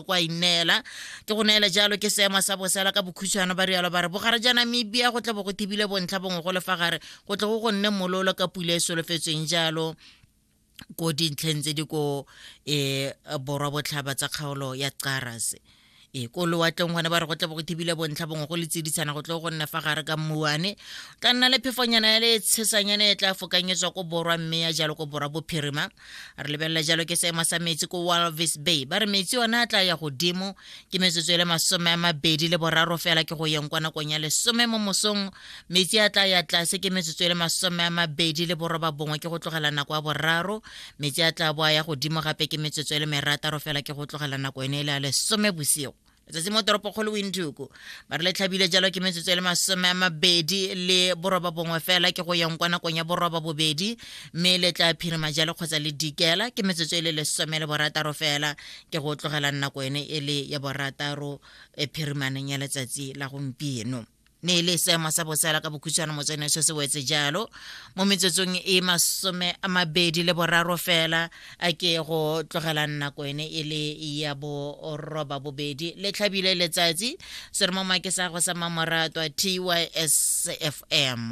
Kwa ineela ke go neela jalo ke seemo sa bosela ka bokhutshwane. Ba rialo ba re bogare ja Namibia go tle bo go thibile bontlha bongwe go le fa gare, go tle go go nne mololo ka pula e solofetsweng jalo ko dintlheng tse di ko borwa botlhaba tsa kgaolo ya Qaras. Ko lewatleng gone ba re go tle bo go thibile bontlha bongwe go le tsiditshana, go tle go nne fa gare ka mmuane, tla nna le phefonyana ya le tshesanyana e tla fokanyetswa ko borwa mme ya jalo ko borwa bophirima. Re lebelela jalo ke seemo sa metsi ko Walvis Bay, ba re metsi ona a tla ya godimo ke metsotso e le 23 fela ke go yeng kwa nakong ya 10 mo mosong. Metsi a tla ya tlase ke metsotso e le 29 ke go tlogela nako ya 3. Metsi a tla boa ya godimo gape ke metsotso e le 6 fela ke go tlogela nako ene e le ya 10 bosigo. Letsatsi mo toropokgolo Windhoek ba re le tlhabile jalo ke metsotso e le 29 fela ke go yang kwa nakong ya 8:30, mme le tla phirima jalo kgotsa le dikela ke metsotso e le 16 fela ke go tlogela nako ene e le ya 6 e phirimaneng ya letsatsi la gompieno. Ne e le seemo sa bosela ka bokhutshwane motsene se se wetse jalo mo metsotsong e 23 fela a ke go tlogela nako ene e le ya 8:30. Le tlhabile letsatsi seromoma ke sa go sa mamoratwa TYSFM.